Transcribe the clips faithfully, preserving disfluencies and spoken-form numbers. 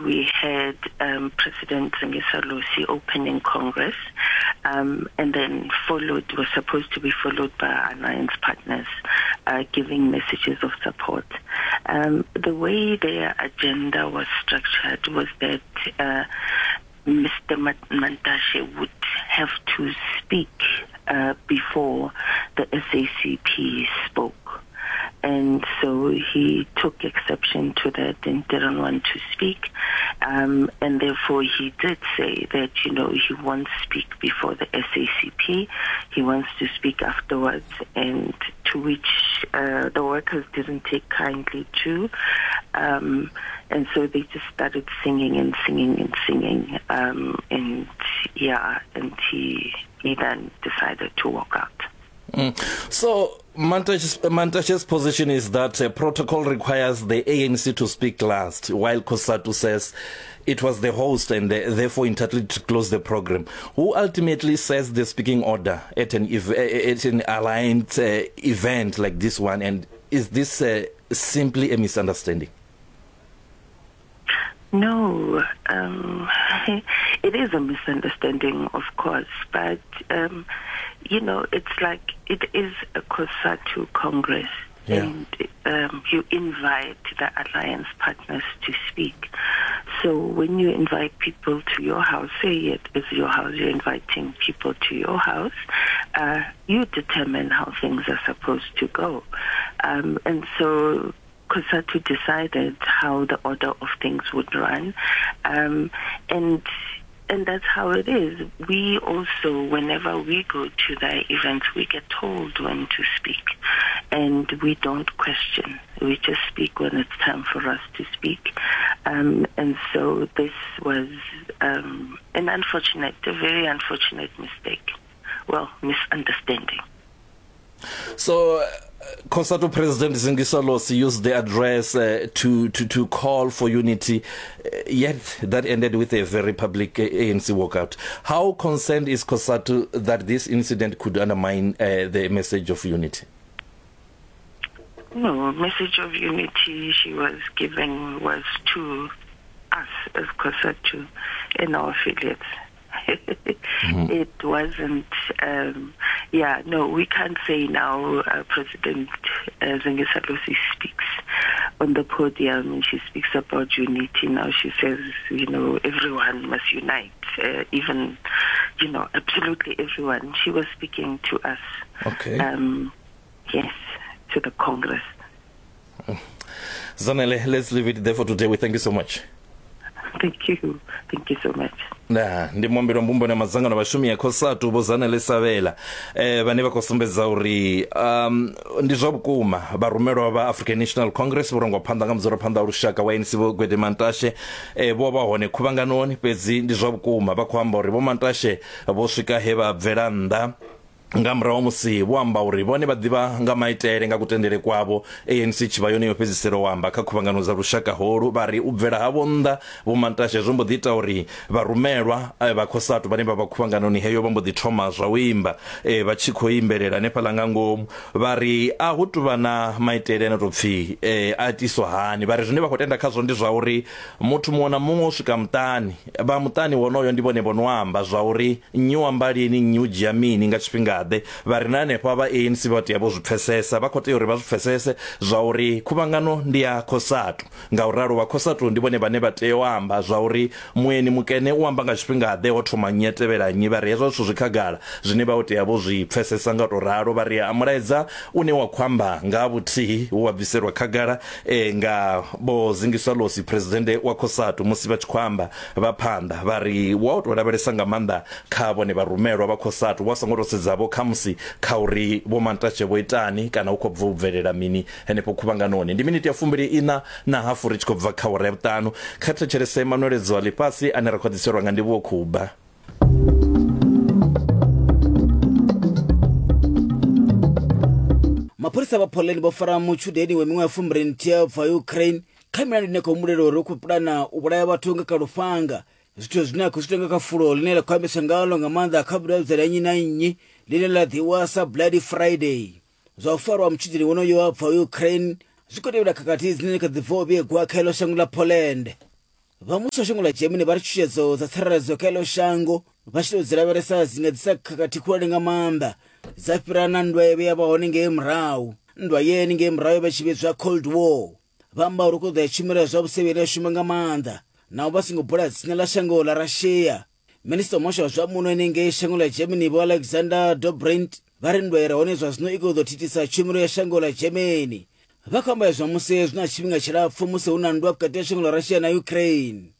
we had um, President Zingiswa Losi opening Congress, um, and then followed, was supposed to be followed by alliance partners uh, giving messages of support. Um, the way their agenda was structured was that uh, Mister Mantashe would have to speak uh, before the S A C P spoke. And so he took exception to that and didn't want to speak. Um, and therefore he did say that, you know, he won't speak before the S A C P. He wants to speak afterwards, and to which uh, the workers didn't take kindly to. Um, and so they just started singing and singing and singing. Um, and, yeah, and he, he then decided to walk out. Mm. So Mantashe's, Mantashe's position is that uh, protocol requires the A N C to speak last, while COSATU says it was the host and the, therefore entitled to close the program. Who ultimately says the speaking order at an, ev- at an aligned uh, event like this one? And is this uh, simply a misunderstanding? No, um, it is a misunderstanding, of course, but, um, you know, it's like it is a COSATU Congress, yeah. and um, you invite the alliance partners to speak. So when you invite people to your house, say it is your house, you're inviting people to your house, uh, you determine how things are supposed to go. Um, and so COSATU decided how the order of things would run, um, and and that's how it is. We also, whenever we go to the events, we get told when to speak, and we don't question. We just speak when it's time for us to speak. Um, and so this was um, an unfortunate, a very unfortunate mistake. Well, misunderstanding. So, uh, COSATU President Zingiswa Losi used the address uh, to, to, to call for unity, uh, yet that ended with a very public uh, A N C walkout. How concerned is COSATU that this incident could undermine uh, the message of unity? No, message of unity she was giving was to us as COSATU and our affiliates. Mm-hmm. It wasn't, um, yeah, no, we can't say now uh, President uh, Zingiswa Losi speaks on the podium and she speaks about unity. Now she says, you know, everyone must unite, uh, even, you know, absolutely everyone. She was speaking to us. Okay. Um, yes, to the Congress. Zanele, let's leave it there for today. We thank you so much. Thank you. Thank you so much. Na ndi muambeli wa mbumbano ya madzangano a vhashumi ya COSATU Vho Zanele Sabela eh vhane vha khou sumbedza uri um ndi zwa vhukuma vharumelwa vha African National Congress vho rangwa phanḓa nga mudzulaphanḓa wa lushaka wa A N C Vho Gwede Mantashe eh vho vha hone khuvhanganoni, fhedzi ndi zwa vhukuma vha khou amba uri Vho Mantashe vho swika he vha bvela nnḓa nga murahu musi vho amba uri vhone vha ḓivha nga maitele nga kutendele kwavho A N C tshi vha yone yo fhedzisela u amba kha khuvhangano dza lushaka holu. Vha ri u bvela havho nnḓa Vho Mantashe zwo mbo ḓi ita uri vharumelwa vha COSATU vhane vha vha khuvhanganoni heyo vha mbo ḓi thoma zwa u imba e, vha tshi khou imbelela hanefhaḽa nga ngomu. Vha ri a hu tuvha na maitele ane to pfhi e, a itiswa hani. Vha ri zwine vha khou tenda khazwo ndi zwa uri muthu muṅwe na muṅwe u swika muṱani, vha muṱani wonoyo ndi vhone vho no amba zwa uri nnyi u amba lini, nnyi u dzhia mini nga tshifhinga. Vha ri na hanefha vha A N C vha tea vho zwi pfesesa, vha khou tea uri vha zwi pfesese zwa uri khuvhangano ndi ya COSATU. Ngauralo vha COSATU ndi vhone vhane vha tea u amba zwa uri mueni mukene u amba nga tshifhinga ḓe, ho thoma nnyi a tevhela nnyi. Vha ri hezwo zwithu zwi khagala zwine vha tea vho zwi pfesesa nga to ralo. Vha ri a mulaedza une wa khou amba nga vhuthihi wa bviselwa khagala e, nga Vho Zingiswa Losi president wa COSATU musi vha tshi khou amba vha phanḓa. Vha ri wa to lavhelesa nga maanḓa kha vhone vharumelwa vha COSATU wa songo to sedza vho khamusi kha uri Vho Mantashe vho itani kana u khou bva u bvelela mini henefho khuvhanganoni. Ndi miniti ya fumbili ina na hafu ri tshi khou bva kha awara ya vhuṱanu. Kha thetshelese manweledzo a ḽifhasi ane ra khou ḓiselwa nga Ndivhuwo Khuba. Mapholisa vha Poland vho fara mutshudeni wa miṅwaha ya fumbili nthihi bva Ukraine kha milandu ine khou humbulela uri u khou pulana u vhulaya vhathu nga kha lufhanga, zwithu zwine a khou zwi ita nga kha fulo ḽine ḽa khou ambiswa ngalo nga maanḓa kha vhudavhidzani ha nnyi na nnyi ḽine ḽa ḓiwa sa Bloody Friday. Zwa u farwa mutshudeni wonoyo wa bva Ukraine zwi khou tevhela khakhathi dzine kha ḓi bva u vhigwa kha iḽo shango ḽa Poland. Vha muvhuso wa shango ḽa Germany vha ri tshutshedzo dza tsireledzo kha iḽo shango vha tshi tou dzi lavhelesa dzi nga ḓisa khakhathi khulwane nga maanḓa dza fhira na nndwa ye ya vha hone ngei murahu. Nndwa ye ngei murahu yo vha tshi vhidzwa Cold War. Vha amba uri ku ḓo ya tshumelo ya zwa vhusevheli ya shuma nga maanḓa naho vha songo bula dzina ḽa shango ḽa Russia. Minista wa muhasho wa zwa muno henengei shango ḽa Germany Vho Alexander Dobrindt vha ri nndwa i re hone zwa zwino i khou ḓo thithisa tshumelo ya shango ḽa Germany. Vha khou amba izwo musi zwi na tshifhinga tshilapfu musi hu na nndwa vhukati ha shango ḽa Russia na Ukraine.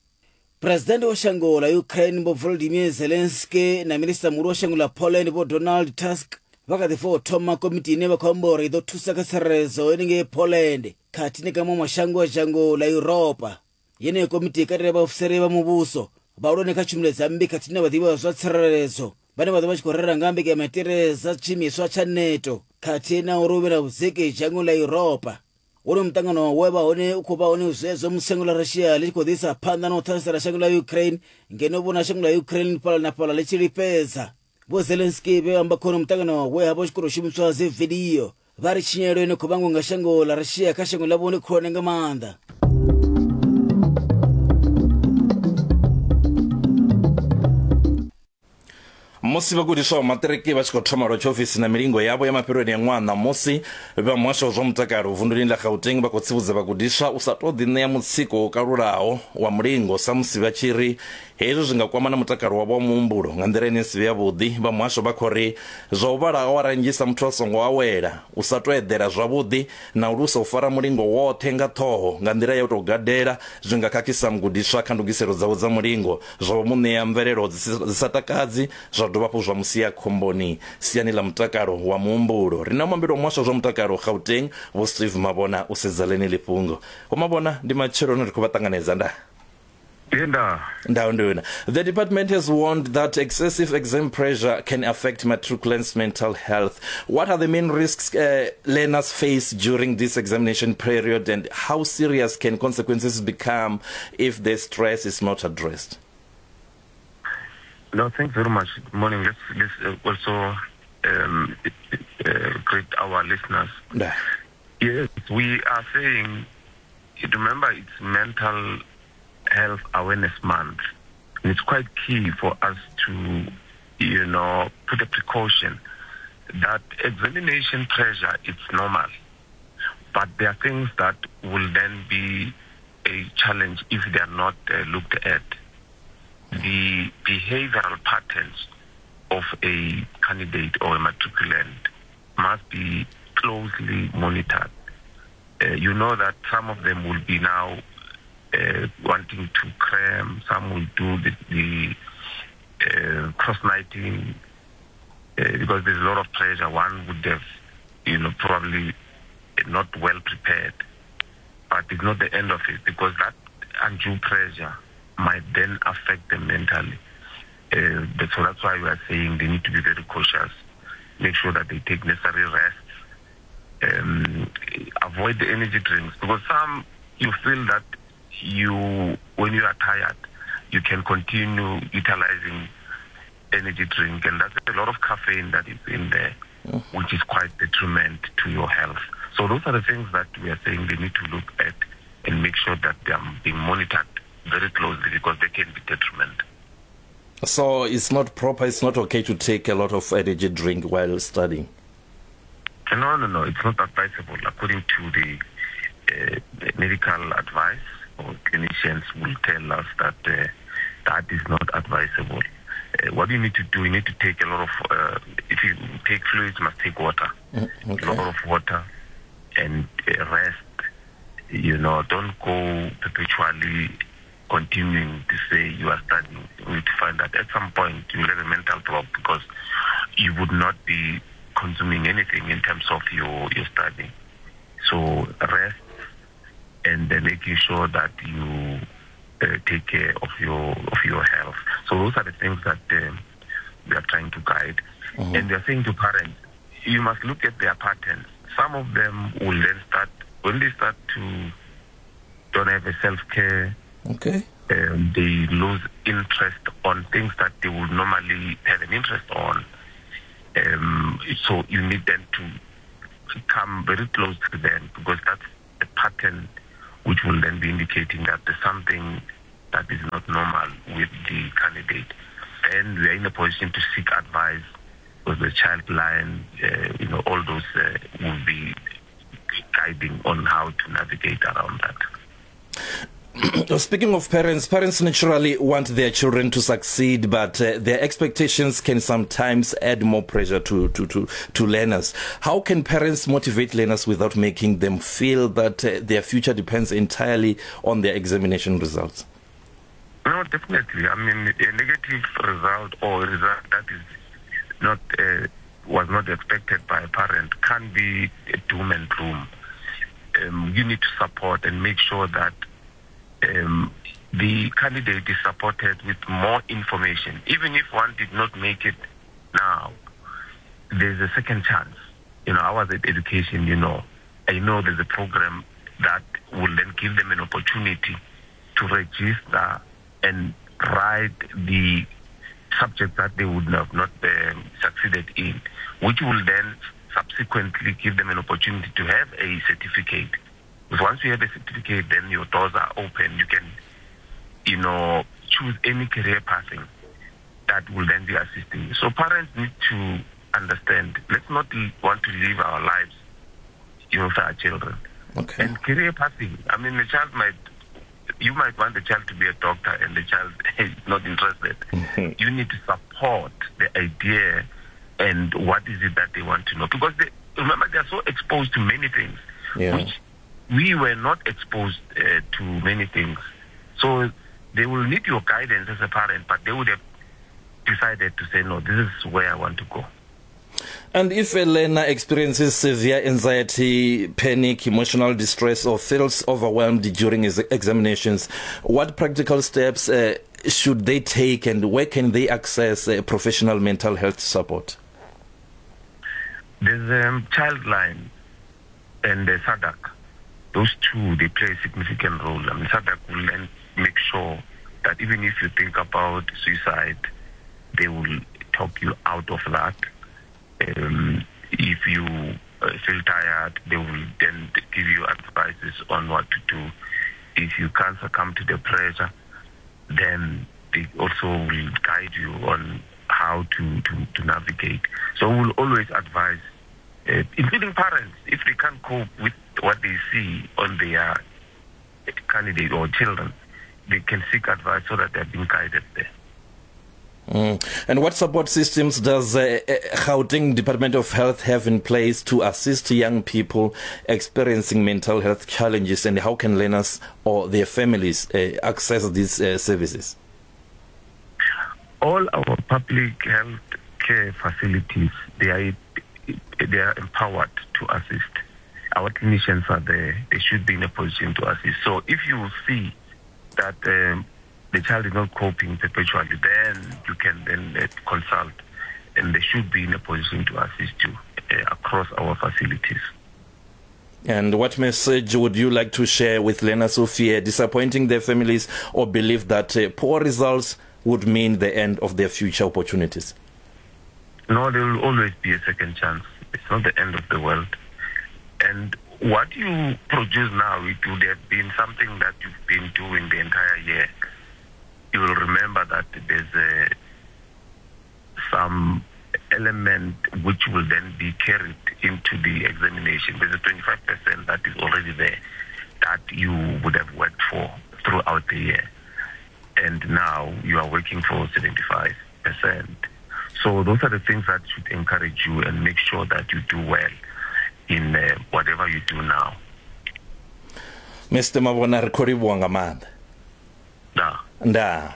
Presidennde wa shango ḽa Ukraine Vho Volodymyr Zelensky na minista muhulu wa shango ḽa Poland Vho Donald Tusk vha kha ḓi bva u thoma komiti ine vha khou amba uri i ḓo thusa kha tsireledzo henengei Poland khathihi na kha maṅwe mashango a dzhango ḽa Yuropa. Yeneyo komiti i katela vhaofisiri vha muvhuso, vhahulwane kha tshumelo dza mmbi khathihi na vhaḓivhi vha zwa tsireledzo vhane vha ḓo vha tshi khou rera nga mbekanyamaitele dza tshiimiswa tsha NATO khathihi na uri hu vhe na vhudziki dzhangoni ḽa Yuropa. Wonoyu muṱangano we vha hone u khou vha hone zwezwo musi shango ḽa Russia ḽi tshi khou ḓisa phanḓa na u ṱhasela shango ḽa Ukraine ngeno vhona shango ḽa Ukraine fhaḽa na fhaḽa ḽi tshi lifhedza. Vho Zelensky vhe amba khona muṱangano we ha vha hu tshi khou tou shumiswa dzi vidio vha ri tshinyalelo ine khou vhangwa nga shango ḽa Russia kha shango ḽavho ndi khulwane nga maanḓa. Musi vhagudiswa vha maṱiriki vha tshi khou thoma lwa tshiofisi na milingo yavho ya mafheloni ya ṅwaha ṋamusi, vha muhasho wa zwa mutakalo vunduni ḽa Gauteng vha khou tsivhudza vhagudiswa u sa tou ḓiṋea mutsiko wo kalulaho wa mulingo sa musi vha tshi ri hezwi zwi nga kwama na mutakalo wavho wa muhumbulo nga nḓila ine si vhe yavhuḓi. Vha muhasho vha khou ri zwa u vhala awara nnzhi sa muthu a songo awela, u sa tou eḓela zwavhuḓi na u lusa u fara mulingo woṱhe nga ṱhoho nga nḓila ya u tou gadela zwi nga khakhisa mugudiswa kha ndugiselo dzawe dza mulingo, zwa mu ṋea mvelelo dzi sa takadzi, zwa dovha hafhu zwa musia khomboni siani ḽa mutakalo wa muhumbulo. Ri na muambeli wa muhasho wa zwa mutakalo Gauteng Vho Steve Mabona u sedza ḽeneḽi fhungo. Vho Mabona, ndi matsheloni ri khou vha ṱanganedza nda. The department has warned that excessive exam pressure can affect matriculants' mental health. What are the main risks uh, learners face during this examination period, and how serious can consequences become if the stress is not addressed? No, thanks very much. Good morning. Let's, let's also um, uh, greet our listeners. Yeah. Yes, we are saying, remember, it's Mental Health Awareness Month, and it's quite key for us to, you know, put a precaution that examination pressure is normal, but there are things that will then be a challenge if they are not uh, looked at. The behavioral patterns of a candidate or a matriculant must be closely monitored. Uh, you know that some of them will be now Uh, wanting to cram, some will do the, the uh, cross-nighting uh, because there's a lot of pressure. One would have, you know, probably not well prepared. But it's not the end of it, because that undue pressure might then affect them mentally. Uh, so that's why we are saying they need to be very cautious, make sure that they take necessary rests, um, avoid the energy drinks, because some, you feel that you, when you are tired, you can continue utilizing energy drink, and that's a lot of caffeine that is in there, mm. which is quite detriment to your health. So those are the things that we are saying they need to look at and make sure that they are being monitored very closely, because they can be detriment. So it's not proper, it's not okay to take a lot of energy drink while studying? No, no, no, it's not advisable according to the, uh, the medical advice. Or clinicians will tell us that uh, that is not advisable. Uh, what you need to do, you need to take a lot of, uh, if you take fluids, you must take water. Mm, okay. A lot of water and uh, rest. You know, don't go perpetually continuing to say you are studying. You need to find that at some point you will have a mental block, because you would not be consuming anything in terms of your, your studying. So rest, and then making sure that you uh, take care of your of your health. So those are the things that um, we are trying to guide. Mm-hmm. And we are saying to parents, you must look at their patterns. Some of them will then start, when they start to don't have a self-care, okay, um, they lose interest on things that they would normally have an interest on. Um, so you need them to come very close to them, because that's a pattern which will then be indicating that there's something that is not normal with the candidate, then we are in a position to seek advice with the child line. Uh, you know, all those uh, will be guiding on how to navigate around that. Speaking of parents, parents naturally want their children to succeed, but uh, their expectations can sometimes add more pressure to, to, to, to learners. How can parents motivate learners without making them feel that uh, their future depends entirely on their examination results? No, definitely. I mean, a negative result or a result that is not uh, was not expected by a parent can be a doom and gloom. Um, you need to support and make sure that Um, the candidate is supported with more information. Even if one did not make it now, there's a second chance. You know, I was at education, you know. I know there's a program that will then give them an opportunity to register and write the subject that they would have not um, succeeded in, which will then subsequently give them an opportunity to have a certificate. Because once you have a certificate, then your doors are open. You can, you know, choose any career pathing that will then be assisting you. So parents need to understand, let's not want to live our lives, you know, for our children. Okay. And career pathing, I mean, the child might, you might want the child to be a doctor and the child is not interested. Mm-hmm. You need to support the idea and what is it that they want to know. Because they, remember, they are so exposed to many things, yeah. which we were not exposed uh, to many things. So they will need your guidance as a parent, but they would have decided to say, no, this is where I want to go. And if a learner experiences severe anxiety, panic, emotional distress, or feels overwhelmed during his examinations, what practical steps uh, should they take, and where can they access uh, professional mental health support? There's a um, Childline and the SADAG. Those two, they play a significant role. I mean, SADAG will then make sure that even if you think about suicide, they will talk you out of that. Um, if you uh, feel tired, they will then give you advices on what to do. If you can't succumb to the pressure, then they also will guide you on how to, to, to navigate. So we'll always advise, uh, including parents, if they can't cope with what they see on their candidate or children, they can seek advice so that they're being guided there. Mm. And what support systems does uh, Gauteng Department of Health have in place to assist young people experiencing mental health challenges, and how can learners or their families uh, access these uh, services? All our public health care facilities, they are, they are empowered to assist. Our clinicians are there. They should be in a position to assist. So if you see that um, the child is not coping perpetually, then you can then uh, consult, and they should be in a position to assist you uh, across our facilities. And what message would you like to share with learners who fear disappointing their families or believe that uh, poor results would mean the end of their future opportunities? No, there will always be a second chance. It's not the end of the world. And what you produce now, it would have been something that you've been doing the entire year. You will remember that there's a, some element which will then be carried into the examination. There's a twenty-five percent that is already there that you would have worked for throughout the year. And now you are working for seventy-five percent. So those are the things that should encourage you and make sure that you do well in uh, whatever you do now. Mister Mabona, re khou livhuwa nga maanḓa. Ndaa. Ndaa.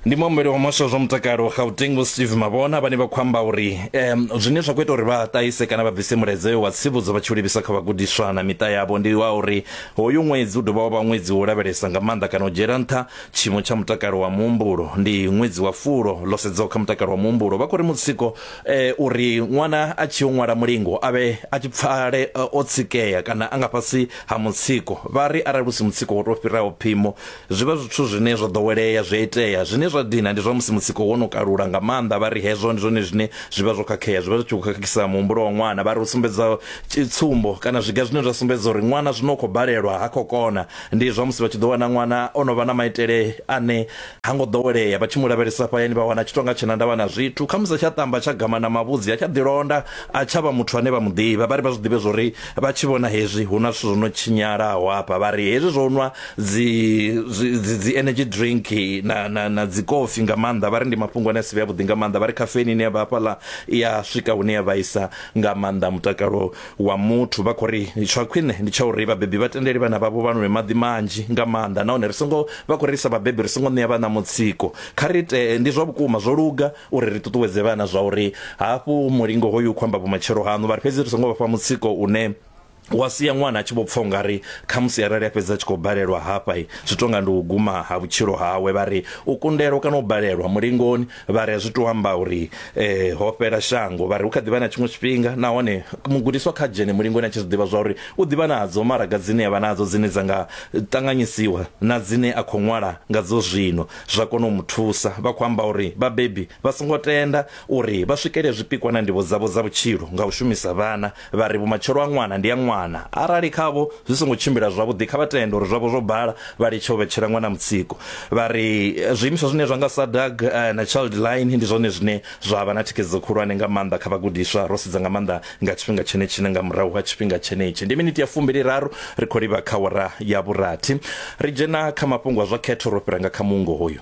Ndi muambeli wa muhasho wa zwa mutakalo Gauteng Vho Steve Mabona vhane vha khou amba uri um zwine zwa khou ita uri vha ṱahise kana vha bvise mulaedza wa tsivhudzo vha tshi livhisa kha vhagudiswa na miṱa yavho ndi wa uri hoyu ṅwedzi u dovha wa vha ṅwedzi wo lavhelesa nga maanḓa kana u dzhiela nṱha tshiimo tsha mutakalo wa muhumbulo. Ndi ṅwedzi wa fulo ḽo sedzaho kha mutakalo wa muhumbulo. Vha khou ri mutsiko eh, uri ṅwana a tshi yo ṅwala mulingo a vhe a tshi pfale o tsikea kana a nga fhasi ha mutsiko. Vha ri arali hu si mutsiko wo tou fhiraho phimo zwi vha zwithu zwine zwo ḓowelea zwi a itea zwine zwa dina ndi zwa musi mutsiko wo no kalula nga maanḓa. Vha ri hezwo ndi zwone zwine zwi vha zwo khakhea, zwi vha zwi tshi khou khakhisa muhumbulo wa ṅwana. Vha ri u sumbedza tsumbo kana zwiga zwine zwa sumbedza uri ṅwana zwino khou balelwa ha khou kona ndi zwa musi vha tshi ḓo wana ṅwana o no vha na maitele ane ha ngo ḓowelea, vha tshi mu lavhelesa fhayani vha wana tshi tonga tshena ndavha na zwithu, khamusi tsha tamba tsha gama na mavhudzi a tsha ḓilonda a tsha vha muthu ane vha mu ḓivha. Vha ri vha zwi ḓivhe zwori vha tshi vhona hezwi hu na zwithu zwo no tshinyalaho hafha. Vha ri hezwi zwo nwa dzi dzi, dzi energy drink na na na dzi kofi nga maanḓa, vha ri ndi mafhungo ane a si vhe avhuḓi nga maanḓa. Vha ri caffeine ine ya vha hafhaḽa ya swika hune ya vhaisa nga maanḓa mutakalo wa muthu. Vha khou ri tsha khwine ndi tsha uri vhabebi vha tendele vhana vhavho vha nwe maḓi manzhi nga maanḓa, nahone ri songo vha khou ri sa vhabebi ri songo ṋea vhana mutsiko. Kha ri ite ndi zwa vhukuma zwo luga uri ri ṱuṱuwedze vhana zwa uri hafhu mulingo hoyu khou amba vhumatshelo haṋu, vha ri fhedzi ri songo vha fha mutsiko une wa sia ṅwana a tshi vho pfa ungari khamusi arali a fhedza a tshi khou balelwa hafha zwi tonga ndi u guma ha vhutshilo hawe. Vha ri u kundelwa kana u balelwa mulingoni vha ri zwi to amba uri eh, ho fhela shango. Vha ri hu kha ḓivha na tshiṅwe tshifhinga, nahone mugudiswa kha dzhene mulingoni a tshi zwi ḓivha zwa uri u ḓivha nadzo maraga dzine a vha nadzo dzine dza nga ṱanganyisiwa na dzine a khou ṅwala ngadzo zwino zwa kona u mu thusa. Vha khou amba uri vhabebi vha songo tenda uri vha swikele zwipikwa na ndivho dzavho dza vhutshilo nga u shumisa vhana. Vha ri vhumatshelo ha ṅwana ndi ya ṅwana, arali khavho zwi songo tshimbila zwavhuḓi kha vha tende uri zwavho zwo bala, vha litshe u vhetshela ṅwana mutsiko. Vha ri zwiimiswa zwine zwa nga SADAG na Childline ndi zwone zwine zwa vha na thikhedzo khulwane nga maanḓa kha vhagudiswa, ro sedza nga maanḓa nga tshifhinga tshenetshi nga murahu ha tshifhinga tshenetshi. Ndi miniti ya fumbili raru ri khou livha kha wara ya vhurathi, ri dzhena kha mafhungo a zwa khetho, ro fhira nga kha mungo hoyu.